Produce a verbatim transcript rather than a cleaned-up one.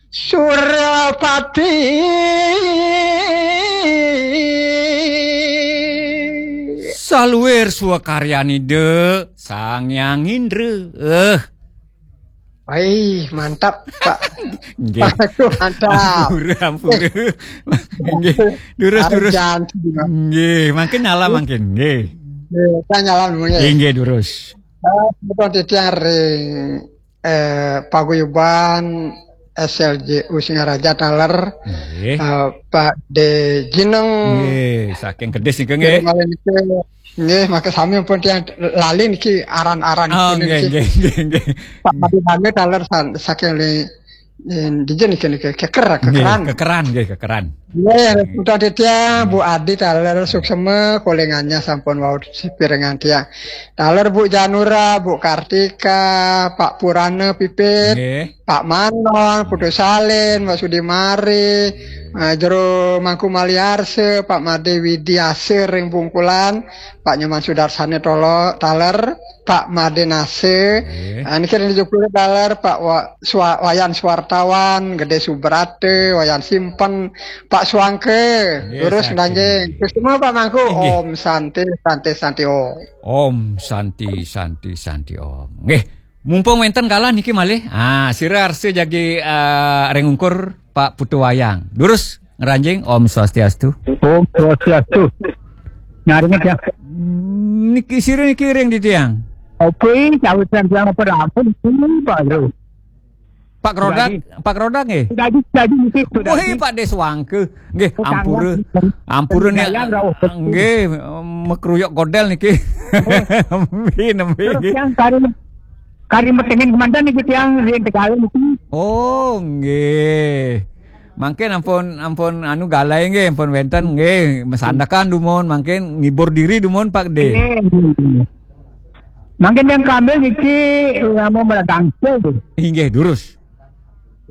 Surapati. Saluir swakaryanida Sang Hyang Indra. Eh. Wih, mantap, Pak. Nggih. Pak Agus, mantap. Ampura, ampura. Nggih, durus, durus. Nggih, mangkin nyala mangkin. Nggih. Nggih, kan nyala dulu, nggih. Nggih, nggih, durus. Eh, betul, titiang ring eh, paguyuban S L J U Singaraja taler, nggih, eh, Pak De Jineng. Nggih, saking Kedis nika, nggih. Nggih, maka sami pun tiang lali niki aran-aran. Oh, nggih, nggih, nggih, nggih. Pak Made Dane taler san-, saking li-, eh, di jen niki, niki keker, nggih, kekeran. Kekeran, nggih, kekeran. Nggih, Putra Aditya, Bu Adi taler suksema, kolingannya sampun wau sipirengan tiang. Taler Bu Janura, Bu Kartika, Pak Purana Pipit, nggih, Pak Manon, Putu Salin, Pak Sudi Mari, eh, Jero Mangku Maliarse, Pak Made Widiase ring Bungkulan, Pak Nyoman Sudarsane Tolo, taler, Pak Made Nase, nggih, eh, niki ring Jukule taler, Pak Wa-, Swa-, Wayan Suwartawan, Gede Subrate, Wayan Simpen, Pak Suangke, nggih, durus saking ndanjing. Terus semua Pak Mangku, nggih. Om Santi, Santi, Santi, Om. Om Santi, Santi, Santi, Om. Nggih, mumpung wenten kalah niki malih. Ah, sira arsa jagi, eh, ring ungkur Pak Putu Wayang. Durus ngranjing, Om Swastiastu. Om Swastiastu. Nyaringet ya. Niki sira niki ring titiang. Oke, cawitan tiang apa rampun, Pak Bro. Pak Rodak, Pak Rodak nggih. Jadi, jadi niki sudah. Wih, Pak Deswangke. Nggih, ampura. Ampura nih. Nggih, mekruyok godel niki. Nembe, nembe, nggih. Yang kari, kari metengin kemanten niki tiang ring Tegalan niki. Oh, nggih. Mangkin ampun, ampun anu galai nggih, ampun wenten nggih, mesandekan dumun, mangkin ngibur diri dumun Pak De. Nggih. Mangkin yang kami niki nama meladangke. Inggih, durus.